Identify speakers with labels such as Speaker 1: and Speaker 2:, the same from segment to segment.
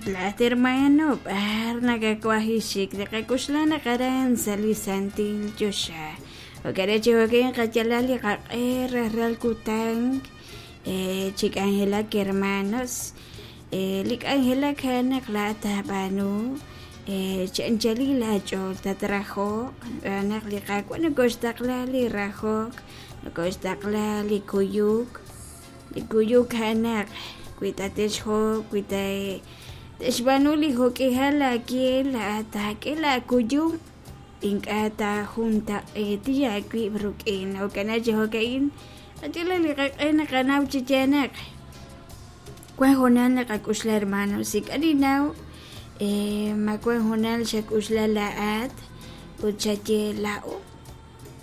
Speaker 1: Laa'at hermano, b'ar nakawaj xik? Naqak'oxla naq aran sa' li santil choxa. Jo'kan chi jo'kan qayalal li qaq'e rajlal kutan chi k'anjelak hermanos. Li k'anjelak a'an naq laa'at taab'aanu chi anchalil aach'ool tatrajoq naq li Qaawa' nokoxtaqla li rajok, nokoxtaqla li kuyuk. Li kuyuk a'an naq wi tate'xhob', wi te'xb'aanu li jo'k'ihal aawe laa'at taak'e laakuyum ink'a' taajuntaq'eeti aawib' rik'in. Jo'kan chi jo'ka'in qayalaq li qaq'e naqanaw chi yaal naq wan hoonal naqak'oxla hermanos, ink'a' ninnaw ma wan hoonal xak'oxla laa'at ut xaye laa'o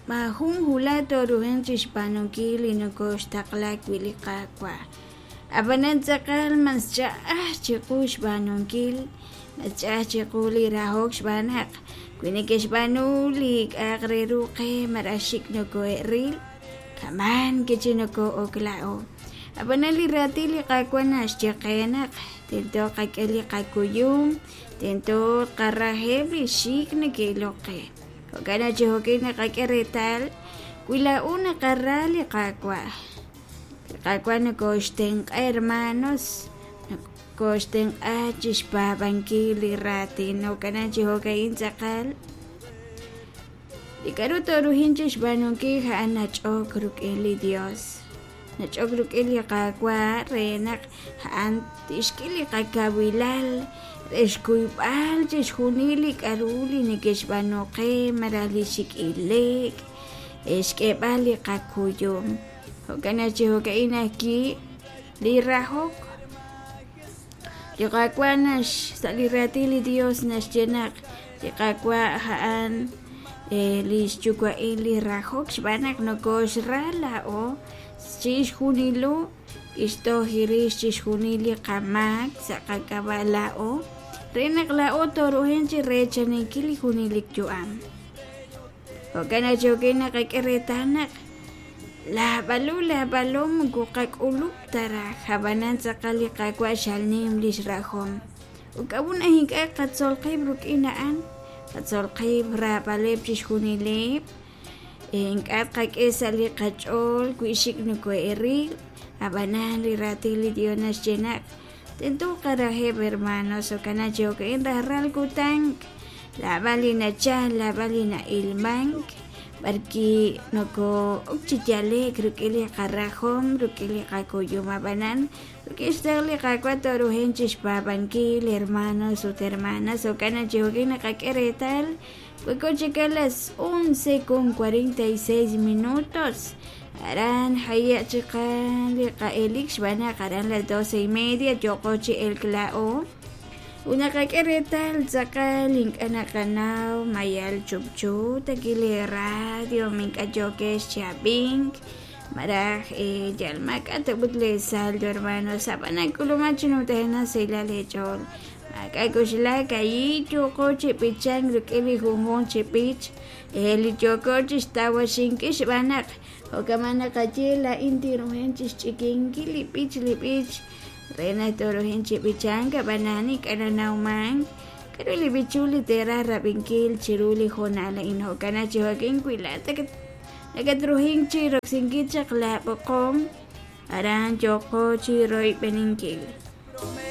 Speaker 1: maajun wulaj tooruhanq chixb'aanunkil li nokoxtaqla wi' li Qaawa'. Ab'anan tz'aqal mas ch'a'aj chiqu xb'aanunkil, mas ch'a'aj chiqu li rahok xb'aan naq wi neke'xb'aanu li k'a'aq re ru qe malaj xik' nokohe'ril, kaman kichi noko'ok laa'o. Ab'anan li raatin li Qaawa' naxye qe naq tento qak'e li qakuyum, tento tqaraheb' li xik' neke'ilok qe. Jo'kan chi jo'kan naqak'e reetal wi laa'o naqara li Qaawa'. Li Qaawa' nokoxtenq'a hermanos, nokoxtenq'a chixpaab'ankil li raatin. Jo'kan chi jo'ka'in tz'aqal li k'a'ru tooruhin chixb'aanunkil a'an nach'ok rik'in li Dios, nach'ok rik'in li Qaawa' re naq a'an tixk'e li qakawilal re xkuyb'al chixjunil li k'a'ru li neke'xb'aanu qe malaj li xik' ile'k, xk'eeb'al li qakuyum. Jo'kan chi jo'ka'in ajwi' li rahok. Li Qaawa' nax sa' li raatin li Dios naxye naq li Qaawa' a'an li xyuwa'il li rahok xb'aan naq nokoxra laa'o chixjunilo kixtoj rix chixjunil li qamaak sa' qak'ab'a' laa'o re naq laa'o tooruhanq chi reechaninkil li junelik yu'am. Jo'kan chi jo'kan naqak'e reetal naq laab'alu laab'alo moko qak'ulub' ta raj, ab'anan tz'aqal li Qaawa' xalnim li xrajom. Ut k'a'ut naq ink'a' qatzol qib' rik'in a'an, qatzol qib' raab'aleb' chixjunileb', ink'a' tqak'e sa' li qach'ool wi xik' nokohe'ril, ab'anan li raatin li Dios naxye naq tento qaraheb' hermanos. Jo'kan chi jo'kan rajlal kutan laab'al li nachal, laab'al li na'ilmank, b'arwi' noko'ok chi yale'k rik'in li qarajom, rik'in li qakuyum. Ab'anan rik'in xtaql li Qaawa' tooruhanq chixpaab'ankil hermanos ut hermanas. Jo'kan chi jo'kan naqak'e reetal wanko chik a las 11:46 minutos. Aran haye' chiqan li qa'elik xb'aan naq aran las 12:30 yooqo chi elk laa'o. Ut naqak'e reetal tz'aqal ink'a' naqanaw ma yal chupchu taki li radio ink'a' yookex chi ab'ink malaj yal maak'a' ta ut lee saldo hermanos. Ab'anan k'uluman chi numtajenaq sahilal eech'ool. Maak'a' k'oxlak ahi yooqo chi b'ichank rik'in li junjunq chi b'ich li yooko chixtawaxinkil xb'aan naq jo'kan naqaye laa'in tinruhanq chixch'ikinkil li b'ich li b'ich re naq tooruhanq chi b'ichank ab'anan ink'a' nanawmank k'a'ru li b'ichul li teeraj rab'inkil chiru li hoonal a'in. Jo'kan chi jo'kan wi laa'at nakatruhank chi roksinkil chaq laab'oqom aran yooqo chi royb'eninkil.